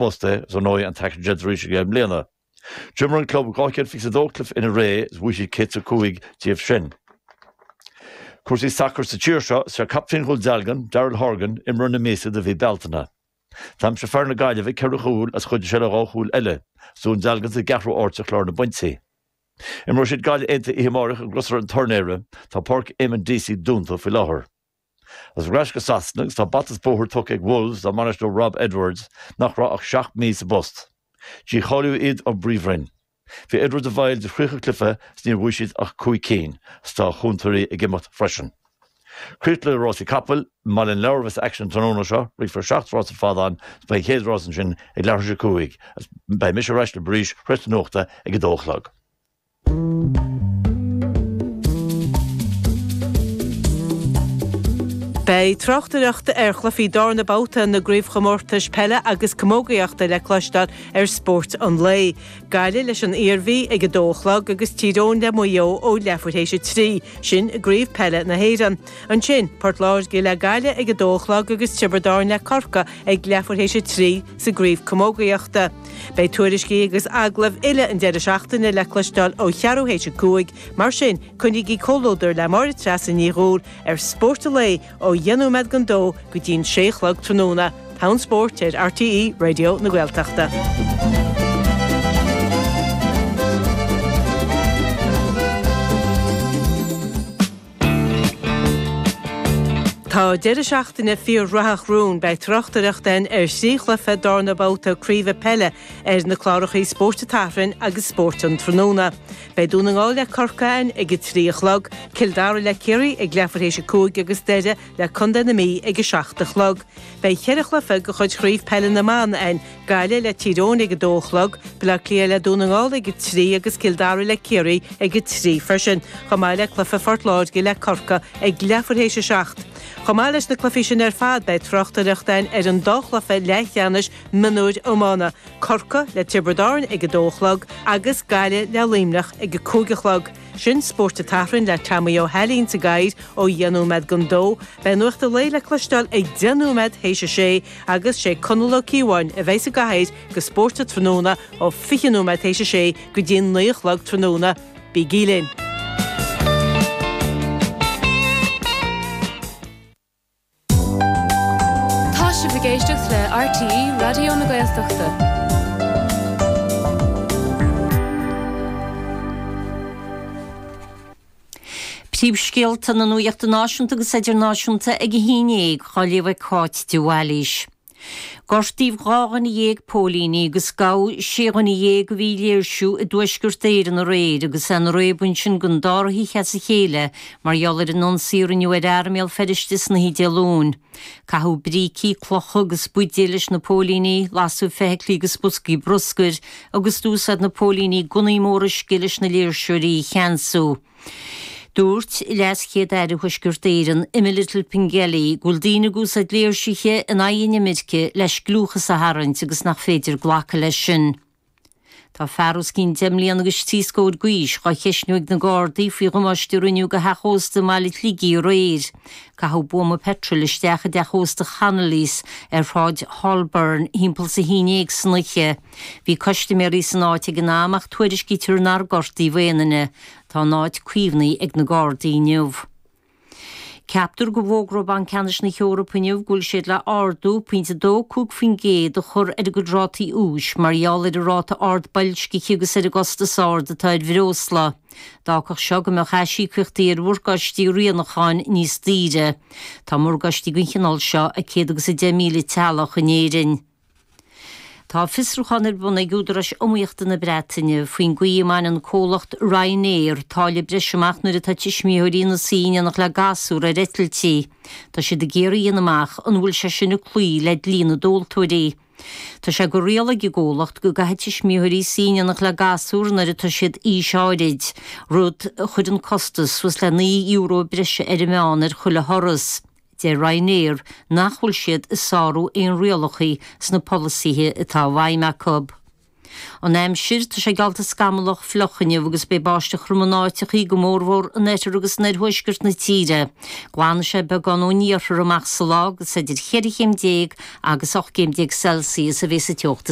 bpost é, is ar ndóigh an t-aicsean déanta arís aige i mbliana. D'imir an club 222 cluiche ina ré is bhuaigh siad 105 díobh sin. Cúrsaí sacair sa tír seo, is é captaen Dhún Dealgan, Daryl Horgan, imreoir na míosa do mhí Bealtaine. D'aimsigh fear na Gaillimhe ceithre chúl is chuidigh sé le dhá chúl eile, is Dún Dealgan sa gceathrú áit ar chlár na bpointí. Imreoidh siad Gaillimh Aontaithe oíche amárach i gCrosaire an Turnaeir. Tá Páirc Eamonn Deacy dúnta faoi láthair. Agus ar ais go Sasana agus tá bata is bóthar tugtha ag Wolves dá mbainisteoir Rob Edwards, nach raibh ach 7 mí sa bpost. Dícháilíodh iad ón bPríomhroinn. Bhí Edwards i bhfeighil de 30 cluiche is níor bhuaigh siad ach 5 cinn, is tá a chúntóirí ag imeacht freisin. Críoch le rásaí capaill, i mBaile an Lobhair a bheas aicsean an tráthnóna seo, rithfear 7 rás ar fad ann is beidh an chéad rás ansin ag leathuair tar éis a 5 agus beidh mise ar ais libh arís tar éis na nuachta ag 2 a chlog. Beidh tráchtaireacht ar chluichí darna babhta na gcraobhchomórtais peile agus camógaíochta le cloisteáil ar Spórt an Lae. Gaillimh leis an Iarmhí ag 2 a chlog agus Tír Eoghain le Maigh Eo ó leathuair théis a 3, sin i gCraobh Peile na hÉireann. Ansin, Port Láirge le Gaillimh ag 2 a chlog agus Tiobraid Árann le Corcaigh ag leathuair théis a 3 sa gCraobh Camógaíochta. Beidh tuairiscí agus agallaimh uile an deireadh seachtaine le cloisteáil ó cheathrú théis a 5, mar sin coinnígí comhluadar le Máire Treasa Ní Dhubhghaill ar Spórt an Lae ó dheich nóiméad don dó go dtí'n sé a chlog tráthnóna. Togha an Spóirt ar RTÉ Raidió na Gaeltachta. Tá deireadh seachtaine fíor-ghnóthach romhainn. Beidh tráchtaireacht againn ar thrí chluiche darna babhta craoibhe peile ar na cláracha Spórt an tSathairn agus Spórt an Tráthnóna. Beidh Dún na nGall le Corcaigh againn ag a 3 a chlog, Cill Dara le Ciarraí ag leathuair théis a 5 agus Doire le Contae na Mí ag a 7 a chlog. Beidh cheithre chluiche de chuid Chraobh Peile na mBan againn, Gaillimh le Tír Eoghain ag 2 a chlog, Baile Átha Cliath le Dún na nGall ag 3 agus Cill Dara le Ciarraí ag 3 freisin, chomh maith le cluiche Phort Láirge le Corcaigh ag leathuair théis a 7. Chomh maith leis na cluichí sin ar fad beidh tráchtaireacht againn ar an dá chluiche leathcheannais mionúir iomána, Corcaigh le Tiobraid Árann ag 2 a chlog agus Gaillimh le Luimneach ag 5 a chlog. Sin Spórt an tSathairn le Tomaí Ó hAilín sa gcathaoir ó dheich nóiméad don dó. Beidh Nuacht an Lae le cloisteáil ag deich nóiméad théis a sé agus sé Conall Ó Cíobháin a bheidh sa gcathaoir do Spórt an Tráthnóna ó 20 nóiméad théis a sé go dtí an 9 a chlog tráthnóna. Bígí linn! Tá sibh ag éisteacht le RTÉ Raidió na Gaeltachta. Príomhscéalta na nuachta náisiúnta agus idirnáisiúnta ag a 11 á léamh ag Cáit de Bhailís. Gortaíodh 12 dhuine póilíní agus gabhadh 16 dhuine a bhí ag léirsiú i dTuaisceart Éireann aréir agus é ina réabadh ansin don dara hoíche as a chéile mar gheall ar an ionsaí a rinneadh ar fhear i mBéal Feirste san oíche Dé Luain. Caitheadh brící, clocha agus buidéil leis na póilíní, lasadh feithiclí agus boscaí bruscair agus d'úsáid na póilíní gunnaí móra uisce leis na léirseoirí a cheansú. Dúirt LeasChéad-Aire Thuaisceart Éireann, Emma Little Pengelly, go bhfuil daoine ag úsáid léirsithe in aghaidh an imirce le scliúchas a tharraingt agus nach féidir glacadh leis sin. Tá fear os cionn deich mbliana agus trí scór d'aois dhá cheistniú ag na Gardaí faoi dhamáiste a rinneadh do theach ósta i mbaile an tSligigh aréir. Caitheadh buama peitril isteach i dteach ósta Chonnolly's ar Shráid Holborn thimpeall is a haon dhéag san oíche. Bhí custaiméirí san áit ag an am ach tuairiscítear nár gortaíodh aon duine. Tá an áit caomhnaithe ag na Gardaí inniu. Ceaptar go bhfógróidh Banc Ceannais na hEorpa inniu go bhfuil siad le ardú pointe 2.5% a chur ar a gcuid rátaí úis mar gheall ar an ráta ard boilscithe agus ar an gcostas ard atá ar bhreosla. D'fhágfadh seo go mbeadh aisíocaíochtaí ar mhorgáistí rianúcháin níos daoire. Tá morgáistí den chineál seo ag 110,000 teaghlach in Éirinn. Tá fiosrúchán ar bun ag údaráis iomaíochta na Breataine faoin gcaoi a mbaineann comhlacht Ryanair táille breise amach nuair atá tuismitheoirí ina suí in éineacht le gasúr ar eitiltí. Tá siad ag iarraidh a dhéanamh amach an bhfuil sé sin ag cloí le dlí na dtomhaltóirí. Tá sé de riail ag an gcomhlacht go gcaithfidh tuismitheoirí suí in éineacht le gasúr nuair atá siad aois áirid, rud a chuireann costas suas le €9 breise ar an meán ar chuile thuras. Deir Ryanair nach bhfuil siad ag sárú aon rialacha sna polasaithe atá i bhfeidhm acu. An aimsir, tá sé geallta scamallach fliuch inniu agus beidh báisteach throm in áiteachaí, go mórmhór in oirthear agus in oirthuaisceart na tíre. Glanfaidh sé beagán ón iarthar amach sa lá agus idir cheithre chéim déag agus 18 gcéim Celsius a bheas an teocht is.